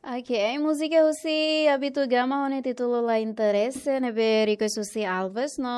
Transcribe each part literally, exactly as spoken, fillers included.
Ok, múzika husi Abitu Gama ho nia títulu La Interese, ne'ebé request husi Alves, no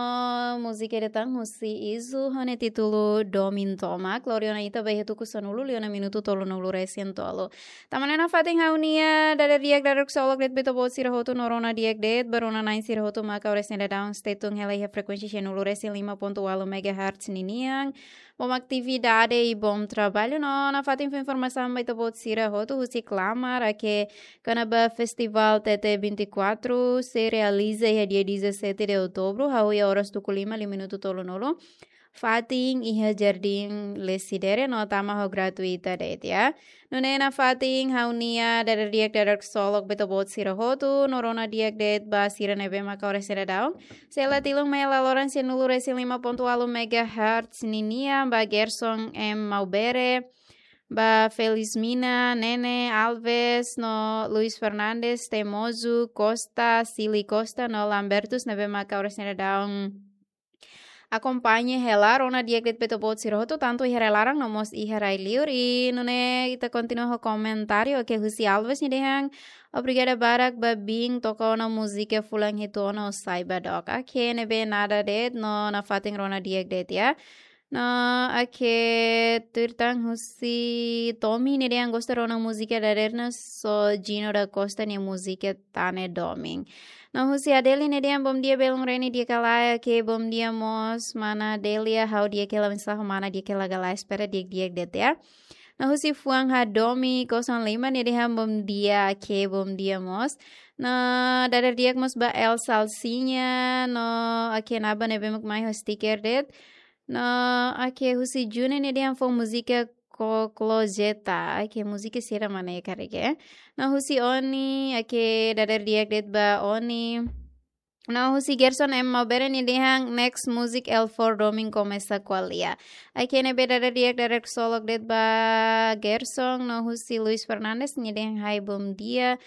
múzika ida tan husi Izu ho nia títulu Domin Tomak. Lori ona ita ba iha tuku sanulu, liu ona minutu tolunulu resin tolu. Tama ona nafatin ha'u-nia dadeer di'ak, dadeer ksolok de'it ba ita-boot sira hotu, no rona di'ak de'it ba rona-na'in sira hotu maka oras ne'e daudaun stay tune hela iha frekuénsia sianulu resin lima pontu ualu megahertz ninian. Bom atividade i bom trabalho. No nafatin fó informasaun ba ita-boot sira hotu husi Klamar, katak kona-ba Festival T T vinte e quatro sei realiza iha dia dezassete de outubro, hahú iha oras tuku lima, liu minutu tolunulu, fatin iha Jardín Lecidere, no tama ho gratuita de'it, ya. Nune'e nafatin ha'u-nia dadeer di'ak, dadeer ksolok ba ita-boot sira hotu, no rona di'ak de'it ba sira ne'ebé maka oras ne'e daudaun sei la tilun mai hela loron sianulu resin lima pontu ualu megahertz ninian, ba Gerson M Maubere, ba Felismina, Nene Alves, no Luis Fernandes, Temozu Costa, Sili Costa, no Lambertus, ne'ebé maka oras ne'e daudaun akompaña hela. Rona di'ak de'it ba ita-boot sira hotu, tantu iha rai-laran no mós iha rai-liur. I nune'e ita kontinua ho komentáriu, ok, husi Alves nia dehan: Obrigada barak ba biin toka ona múzika fulan hitu ona, ha'u sai ba dook. Ok, ne'ebé nada de'it, no nafatin rona di'ak de'it, ya. No, ok, tuir tan husi Tommy nia dehan gosta rona múzika dadeer ne'e só Gino da Costa nia múzika Tane Domin. No husi Adeli nia dehan: Bom dia belun Reni, di'ak ka lae? Ok, bom dia mós mana Delia, ha'u di'ak hela, oinsá ho mana, di'ak hela ka lae? Espera di'ak-di'ak de'it, ya. No husi fuan Hadomi kosong lima nia dehan: Bom dia, ok, bom dia mós. No dadeer di'ak mós ba El Salsinha, no ok, nafatin ne'ebé mak mai ho sticker de'it. No ok, husi June nia dehan fó múzika Koklojeta. Ok, múzika sira mana ya karege. No husi Oni, ok, dadeer di'ak de'it ba Oni. No husi Gerson M Maubere nia dehan: Next music El for Domin komesa ko'alia. Ok, ne'ebé dadeer di'ak, dadeer ksolok de'it ba Gerson. No husi Luis Fernandes nia dehan: Hai, bom dia.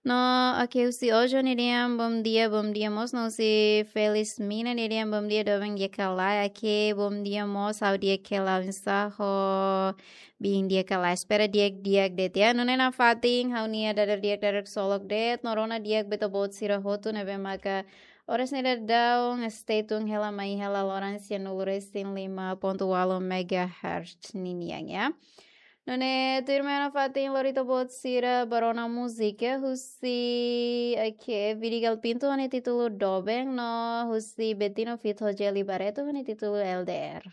No ok, husi Ojo nia dehan: Bom dia, bom dia mós. No husi Felismina nia dehan: Bom dia doben, di'ak ka lae? Ok, bom dia mós, ha'u di'ak hela, oinsá ho biin, di'ak ka lae? Espera di'ak-di'ak de'it, ya. Nune'e nafatin ha'u-nia dadeer di'ak, dadeer ksolok de'it, no rona di'ak ba ita-boot sira hotu ne'ebé maka oras ne'e daudaun stay tune hela mai hela loron sianulu resin lima pontu ualu megahertz ninian, ya. Nune'e tuirmai nafatin lori ita-boot sira ba rona múzika husi, ok, Vidigal Pinto ho nia títulu Doben, no husi Betino feat Rogério Barreto ho nia títulu L D R.